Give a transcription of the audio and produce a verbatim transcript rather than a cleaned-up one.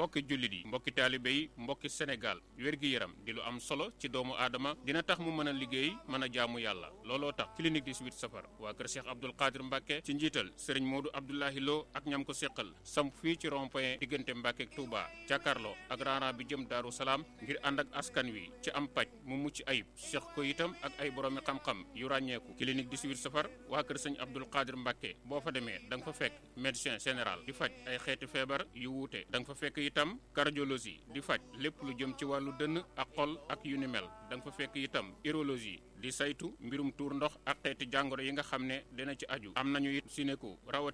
mbokki jullit yi mbokki taalibe yi mbokki Sénégal wér-gi-yaram di lu am solo ci doomu aadama dina tax mu mën a liggéey mën a jaamu yàlla looloo tax clinique dix-huit safar waa kër Cheikh Abdoul Qadir Mbacke ci njiital Serigne Modou Abdoulahi Lo ak ñam ko seqal samp fii ci rond-point diggante Mbacke ak Touba jàkkaarloo ak raana bi jëm Daaru Salaam ngir ànd ak askan wi ci am paj mu mucc ayib seq ko itam ak ay boroomi xam-xam yu ràññeeku clinique dix-huit safar waa kër Serigne Abdoul Qadir Mbacke boo fa demee da nga fa fekk médecin général di faj ay xeeti feebar yu wuute da nga fa fekk itam cardiologie di faj lépp lu jëm ci wàllu dënn ak xol ak yu ni mel da nga fa fekk itam urologie di saytu mbirum tuur ndox ak xeeti jàngoro yi nga xam ne dina ci aju am nañu it sinéku rawat